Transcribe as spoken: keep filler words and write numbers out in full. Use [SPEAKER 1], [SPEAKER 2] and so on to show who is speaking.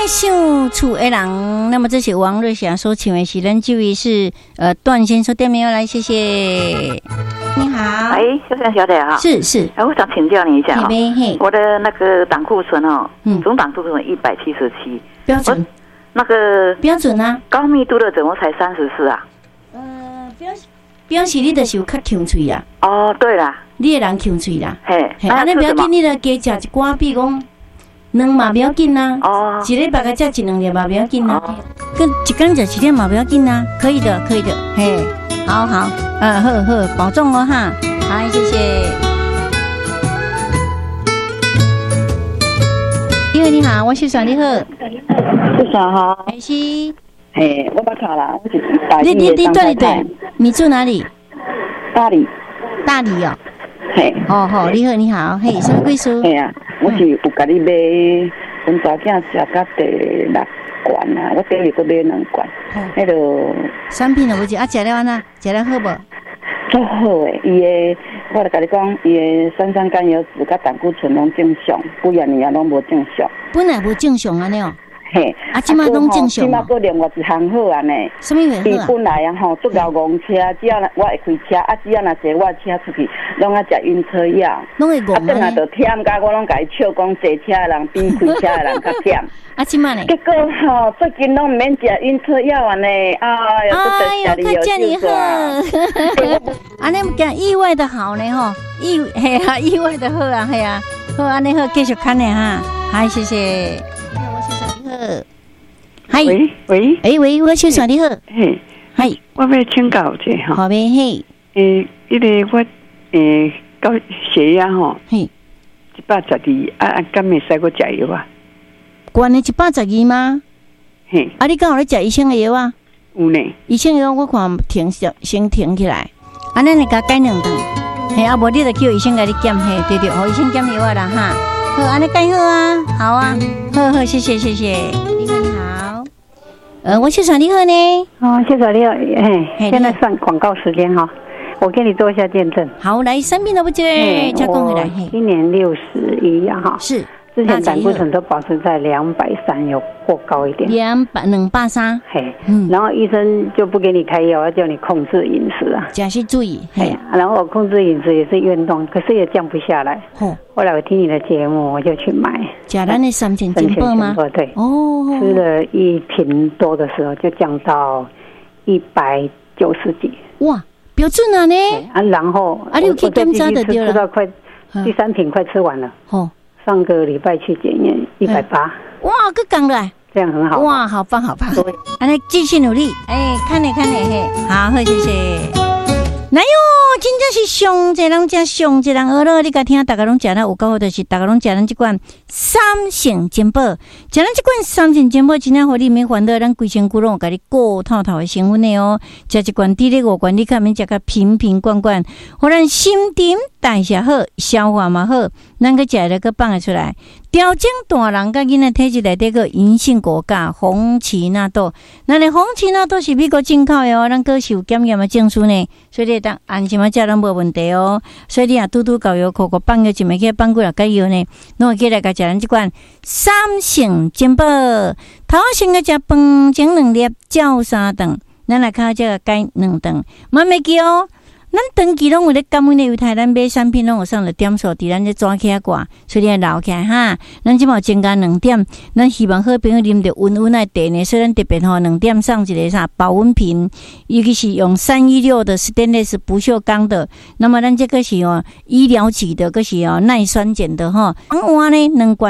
[SPEAKER 1] 想厝的人，那麼這是王瑞霞所唱的是咱這位是呃段先生點名來，謝謝。你好，
[SPEAKER 2] 哎，秀珊小姐哈，
[SPEAKER 1] 是是，
[SPEAKER 2] 哎，我想請教你一下哈，
[SPEAKER 1] 嘿，
[SPEAKER 2] 我的那個膽固醇哦，嗯，總膽固醇一百七十七，
[SPEAKER 1] 標準，
[SPEAKER 2] 那個
[SPEAKER 1] 標準啊，
[SPEAKER 2] 高密度的怎麼才三十四啊？
[SPEAKER 1] 呃，表表示你就是有較強喙啊。
[SPEAKER 2] 哦，對啦，
[SPEAKER 1] 你的人強喙啦，
[SPEAKER 2] 嘿，
[SPEAKER 1] 按呢不要緊，你著加食一寡，比如講卵嘛不要緊啊，
[SPEAKER 2] 哦，
[SPEAKER 1] 一禮拜共食一兩粒嘛不要緊啊，閣一工食一粒嘛不要緊啊，可以的，可以的，嘿，好好，呃，好好，保重哦哈，好，謝謝。你好，你好，我是算你好，
[SPEAKER 3] 秀珊好，
[SPEAKER 1] 是，
[SPEAKER 3] 嘿，我捌卡啦，我是大
[SPEAKER 1] 你你你對對，你住哪裡？
[SPEAKER 3] 大理。
[SPEAKER 1] 大理哦。
[SPEAKER 3] 嘿。
[SPEAKER 1] 哦好，你好你好，嘿，啥物貴數？
[SPEAKER 3] 嘿啊，我是有共你買，阮查囝食甲第六罐啊，我第二閣買兩罐，彼个
[SPEAKER 1] 產品都無食，啊，食了按怎？食了好無？
[SPEAKER 3] 足好的，伊的，我就共你講，伊的三酸甘油酯佮膽固醇攏正常，幾仔年啊攏無正常。
[SPEAKER 1] 本來無正常按呢哦。
[SPEAKER 3] 嘿，
[SPEAKER 1] 啊，這馬攏正常。
[SPEAKER 3] 這馬閣另外一項好按呢。
[SPEAKER 1] 啥物話好？
[SPEAKER 3] 伊本來啊吼，足𠢕戇車，只要我會開車，啊，只要若坐我的車出去，攏愛食暈車藥。
[SPEAKER 1] 攏會戇
[SPEAKER 3] 啊，轉來就忝甲我攏共伊笑講，坐車的人比開車的人較忝。
[SPEAKER 1] 啊，這馬呢？
[SPEAKER 3] 結果吼，最近攏毋免食暈車藥按呢，哎喲，
[SPEAKER 1] 哎喲，較遮爾好。按呢講意外的好呢吼，意嘿啊，意外的好啊，嘿啊，好按呢好，繼續看呢哈，好，謝謝。好，
[SPEAKER 4] 喂喂，
[SPEAKER 1] 欸喂，我秀珊你好，
[SPEAKER 4] 嘿，
[SPEAKER 1] 嘿，
[SPEAKER 4] 我欲請教一下吼，
[SPEAKER 1] 好咩嘿，
[SPEAKER 4] 欸，彼个我欸高血壓吼，
[SPEAKER 1] 嘿，
[SPEAKER 4] 一百十二，啊啊，敢會使閣食藥啊？
[SPEAKER 1] 懸的一百十二嗎？
[SPEAKER 4] 嘿，
[SPEAKER 1] 啊，你敢有咧食醫生的藥啊？
[SPEAKER 4] 有呢，
[SPEAKER 1] 醫生藥我看停先先停起來，啊，咱會共改兩頓，嘿，啊，無你就叫醫生共你檢，嘿，對對，予醫生檢藥啊啦哈，好，按呢改好啊，好啊，好好，謝謝謝謝，你好你好，呃，我秀珊你好呢，
[SPEAKER 5] 哦，秀珊你好，嘿，現在算廣告時間哈，我給你做一下見證。
[SPEAKER 1] 好，來，三遍都不接，再講回來。
[SPEAKER 5] 今年六十一啊，哈，
[SPEAKER 1] 是，
[SPEAKER 5] 之前膽固醇都保持在兩百三，有過高一點。
[SPEAKER 1] 兩百兩百三，
[SPEAKER 5] 嘿，然後醫生就不給你開藥，要叫你控制飲食啊，
[SPEAKER 1] 食是注意，
[SPEAKER 5] 嘿，然後我控制飲食也是運動，可是也降不下來。
[SPEAKER 1] 哦，
[SPEAKER 5] 後來我聽你的節目，我就去買。
[SPEAKER 1] 食咱的三千珍寶嗎？
[SPEAKER 5] 對，
[SPEAKER 1] 哦，
[SPEAKER 5] 吃了一瓶多的時候，就降到一百九十幾。
[SPEAKER 1] 哇，標準啊呢！
[SPEAKER 5] 啊，然後
[SPEAKER 1] 啊，你有去檢查就對了。
[SPEAKER 5] 吃到快第三瓶快吃完了。
[SPEAKER 1] 哦，
[SPEAKER 5] 上個禮拜去檢驗一百八。
[SPEAKER 1] 哇，閣降來，
[SPEAKER 5] 這樣很好。
[SPEAKER 1] 哇，好棒好棒！按呢繼續努力，哎，看你看你嘿，好，好，謝謝。來喲，真正是上濟人食，上濟人學了，你共聽，逐家攏食了有夠好，就是逐家攏食咱這款三聖珍寶，食咱這款三聖珍寶，真正予你免煩惱，咱規身軀攏有共你顧透透的成分的哦。食一罐，佇咧五罐，你較免食甲瓶瓶罐罐，予咱新陳代謝好，消化嘛好，咱閣食了閣放會出來。調整大人佮囡仔體質內底閣銀杏果鉀紅曲納豆，咱的紅曲納豆是美國進口的哦，咱閣是有檢驗的證書呢，所以你會當安心仔食攏無問題哦。所以你若拄拄到藥庫，閣放藥一暝起放幾若解藥呢，攏會起來共食咱這款三聖珍寶。頭先個食飯前兩粒，照三頓，咱來較這個改兩頓，嘛袂記哦。咱長期攏有咧感恩的猶太，咱買產品攏有送著點數，佇咱這紙起掛，所以你愛留起來哈。咱這馬有增加兩點，咱希望好朋友啉著溫溫的茶呢，所以咱特別吼兩點送一個啥保溫瓶，尤其是用三一六的ステンレス不鏽鋼的。那麼咱這個是哦醫療級的，閣是哦耐酸鹼的吼。換呢兩罐。